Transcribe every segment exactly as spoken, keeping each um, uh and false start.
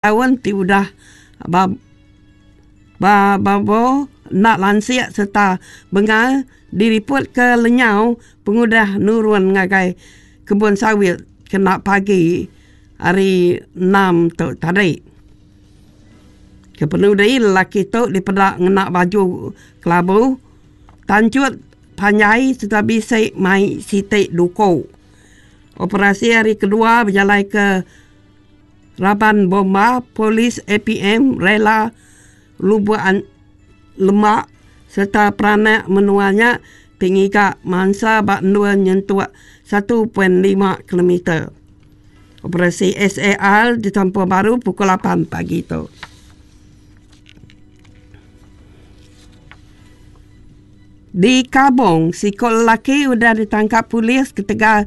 Taun ti udah ba ba Babo enda lansik sereta bengal diripotka lenyau pengudah nurun ngagai kebun sawit kena pagi hari enam tu tadi. Kepenudi lelaki tu dipeda ngena baju kelabu, tanchut panjai sereta bisi mai siti duku. Operasi hari kedua bejalaika raban bomba, polis, A P M, rela Lubuk Lembak sereta peranak menua nya ti ngiga mansa ba endur nyentuk satu perpuluhan lima kilometer. Operasi S A R ditampung baru pukul lapan pagi tu. Di Kabong, siku lelaki udah ditangkap polis ketegal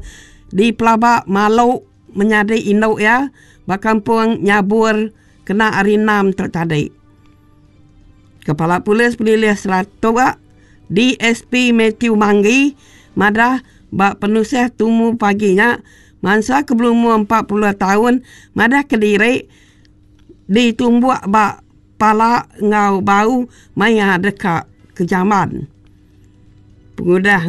dipelaba malu menyadi indu iya ba kampung Nyabur kena hari enam tu tadi. Kepala Polis Pelilih Saratok D S P Matthew Manggi madah ba penusah tumu pagi nya mansa ke berumur empat puluh taun madah kediri ditumbuk ba pala enggau bau maya deka ke jamban. Pengudah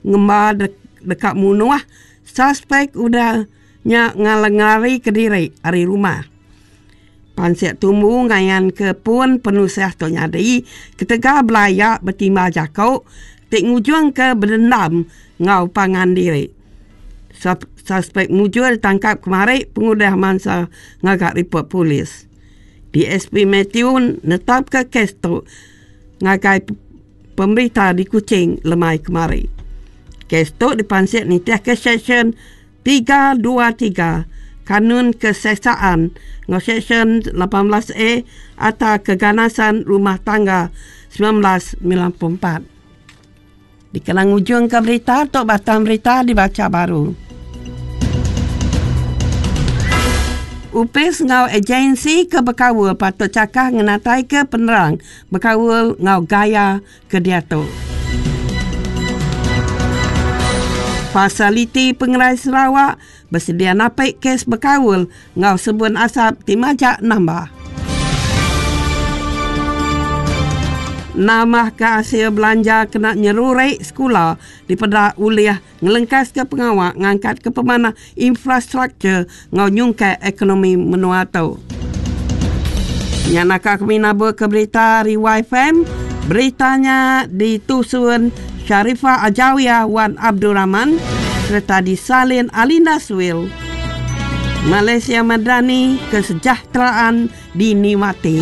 ngemba deka munuh, suspek udah nya ngalari kediri ari rumah. Pansik tumbu ngayan ke pun penusah tu nyadi ketegal belaya betimbal jako ti ngujung ke berdendam enggau pangan diri. Suspek mujur ditangkap kemari pengudah mansa ngaga report polis. D S P Matthew netapka kes tu ngagai pemberita di Kuching lemai kemari. Kes tu dipansik nitihka Seksyen tiga dua tiga Kanun Keseksaan enggau Seksyen lapan belas A Akta Keganasan Rumah Tangga sembilan belas sembilan puluh empat. Dikena ngujungka berita tu batang berita dibaca baru. Upis enggau agensi ke bekaul patut cakah ngenataika penerang bekaul enggau gaya ke diatu. Fasiliti Pengerai Sarawak bersedia napik kes bekaul enggau sebun asap ti majak nambah. Nambahka hasil belanja kena nyerurek sekula dipeda ulih ngelengkaska pengawa ngangkatka pemanah infrastruktur enggau nyungkai ekonomi menua tu. Nya naka kami nabur ke berita ari Y F M. Beritanya ditusun Sharifah Ajawiyah Wan Abdul Rahman sereta disalin Alinda Swil. Malaysia Madani, kesejahteraan dinikmati.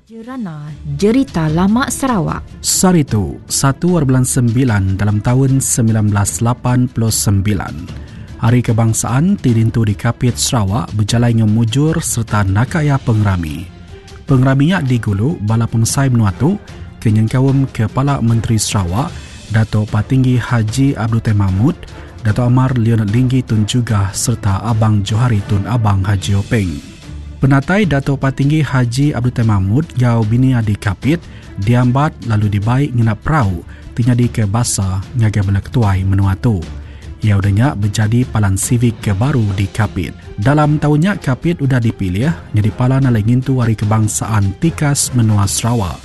Jerana Jerita Lama Sarawak. Saritu, satu bulan sembilan dalam tahun sembilan belas lapan puluh sembilan. Hari Kebangsaan Tirintu di Kapit Sarawak berjalan ngemujur serta nakaya pengerami. Pengeraminya digulu bala pemesai menua tu kenyengkaum Kepala Menteri Sarawak Dato' Patinggi Haji Abdul Taib Mahmud, Dato' Amar Leonard Linggi Tun Jugah serta Abang Johari Tun Abang Haji Openg. Penatai Dato' Patinggi Haji Abdul Taib Mahmud gau bini adi Kapit diambat lalu dibaik ngena perau tinyadi ke basa ngagai bala ketuai menua tu. Ia udahnya menjadi palan sivik ke baru di Kapit. Dalam tahunnya Kapit udah dipilih jadi palan alai ngintu Hari Kebangsaan Tikas Menua Sarawak.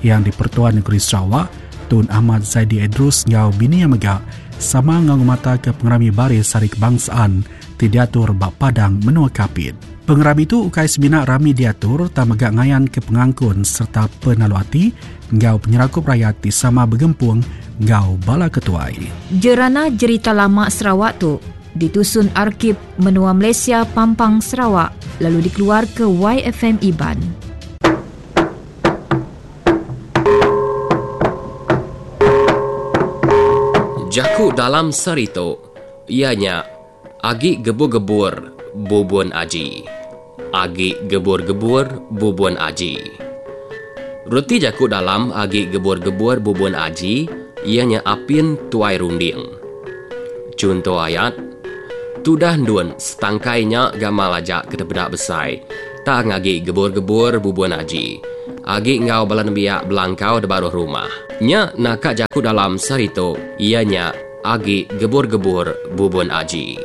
Yang di-Pertuan Negeri Sarawak, Tun Ahmad Zaidi Idrus ngau bini yang mega sama ngau mata ke pengerami baris Hari Kebangsaan ti diatur bak Padang Menua Kapit. Pengerami tu ukai semina rami diatur tak mega ngayan ke pengangkun serta penalu ati ngau penyerakup rakyat ti sama bergempung ngau bala ketuai. Jerana Jerita Lama Sarawak tu ditusun Arkib Menua Malaysia Pampang Sarawak lalu dikeluar ke Y F M Iban. Jaku dalam serito ianya agi gebur-gebur bubun aji. Agi gebur-gebur bubun aji. Reti jaku dalam agi gebur-gebur bubun aji ianya apin tuai runding. Contoh ayat, tudah ndun setangkainya gamal ajak ke tepedak besai, tang agi gebur-gebur bubun aji. Agi enggau bala nembiak belangkau di baruh rumah. Nya naka jaku dalam sehari tu iya nya agi gebur-gebur bubun aji.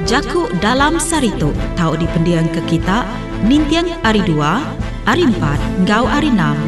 Jaku dalam saritu tau dipendiang ke kita ninting ari dua, ari empat enggau ari enam.